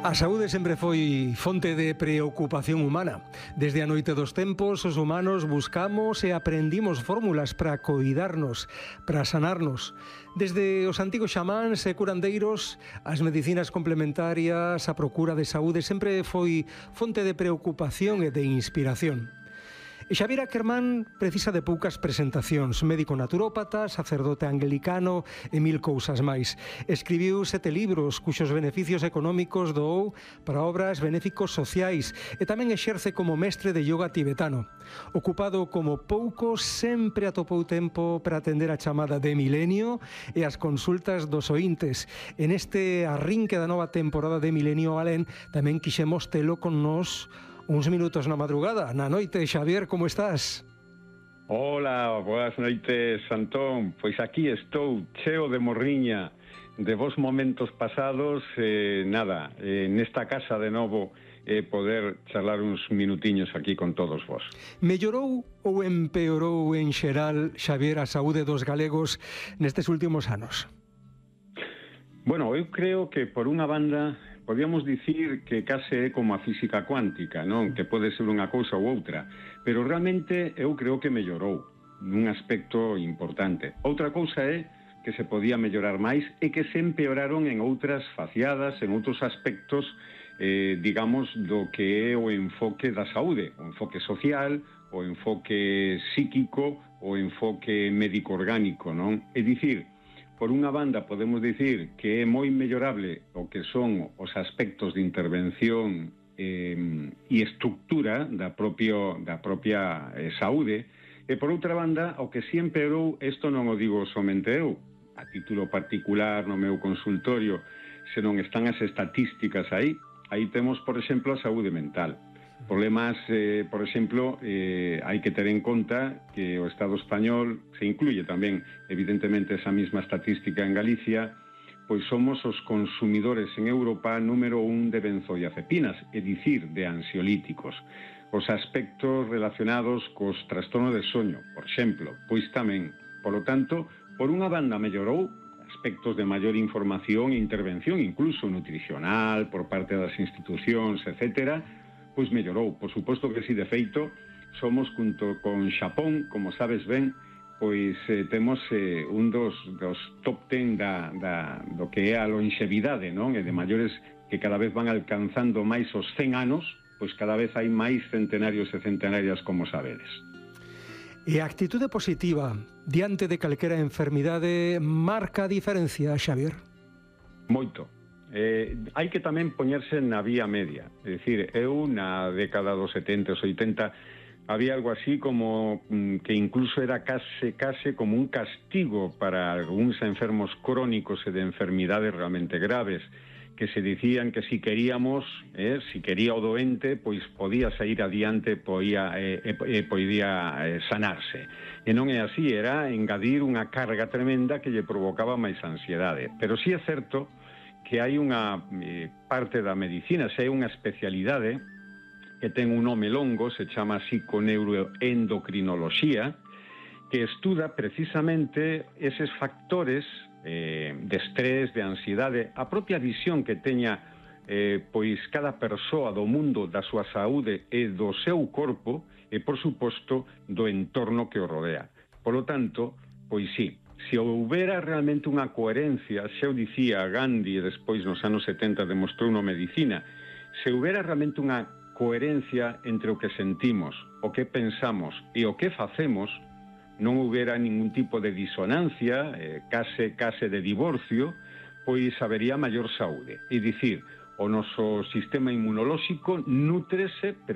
A saúde sempre foi fonte de preocupación humana. Desde a noite dos tempos, os humanos buscamos e aprendimos fórmulas para coidarnos, para sanarnos. Desde os antigos xamáns e curandeiros, as medicinas complementarias, a procura de saúde sempre foi fonte de preocupación e de inspiración. E Xavier Ackerman precisa de poucas presentacións. Médico naturópata, sacerdote anglicano e mil cousas máis. Escribiu 7 libros cuxos beneficios económicos doou para obras benéficos sociais e tamén exerce como mestre de yoga tibetano. Ocupado como poucos, sempre atopou tempo para atender a chamada de milenio e as consultas dos ointes. En este arrinque da nova temporada de Milenio Alén tamén quixemos telo con nós uns minutos na madrugada, na noite. Xavier, como estás? Hola, boas noites, Antón. Pois aquí estou, cheo de morriña de vos momentos pasados, nesta casa de novo, poder charlar uns minutiños aquí con todos vos. Mellorou ou empeorou en xeral, Xavier, a saúde dos galegos nestes últimos anos? Bueno, eu creo que por unha banda podíamos dicir que case é como a física cuántica, non? Que pode ser unha cousa ou outra, pero realmente eu creo que mellorou nun aspecto importante. Outra cousa é que se podía mellorar máis e que se empeoraron en outras faciadas, en outros aspectos, digamos, do que é o enfoque da saúde, o enfoque social, o enfoque psíquico, o enfoque médico-orgánico, non? É dicir, por unha banda podemos dicir que é moi mellorable o que son os aspectos de intervención e estructura da propia saúde, e por outra banda, o que si empeorou, isto non o digo somente eu, a título particular no meu consultorio, senón están as estatísticas aí temos, por exemplo, a saúde mental. Problemas, por exemplo, hai que ter en conta que o Estado español, se incluye tamén, evidentemente, esa mesma estatística en Galicia, pois somos os consumidores en Europa número 1 de benzodiazepinas, é dicir, de ansiolíticos. Os aspectos relacionados cos trastornos de soño, por exemplo, pois tamén. Por lo tanto, por unha banda mellorou aspectos de maior información e intervención, incluso nutricional, por parte das institucións, etcétera, pois mellorou. Por suposto que si, de feito, somos junto con Xapón, como sabes ben, pois temos un dos top 10 do que é a longevidade, non? E de maiores que cada vez van alcanzando máis os 100 anos, pois cada vez hai máis centenarios e centenarias, como sabedes. E a actitude positiva diante de calquera enfermidade marca a diferencia, Xavier? Moito. Hai que tamén poñerse na vía media. É dicir, eu na década dos 70 e 80 había algo así como que incluso era case como un castigo para algúns enfermos crónicos e de enfermidades realmente graves, que se dicían que si queríamos, si quería o doente, pois podía sair adiante, podía sanarse. E non é así, era engadir unha carga tremenda que lle provocaba máis ansiedade. Pero sí é certo que hai unha parte da medicina, se hai unha especialidade que ten un nome longo, se chama psiconeuroendocrinoloxía, que estuda precisamente eses factores de estrés, de ansiedade, a propia visión que teña pois cada persoa do mundo, da súa saúde e do seu corpo, e por suposto do entorno que o rodea. Por lo tanto, pois sí, se houbera realmente unha coherencia, xa o dicía Gandhi e despois nos anos 70 demostrou na medicina, se houbera realmente unha coherencia entre o que sentimos, o que pensamos e o que facemos, non houbera ningún tipo de disonancia, case de divorcio, pois habería maior saúde. É dicir, o noso sistema inmunolóxico nútrese precisamente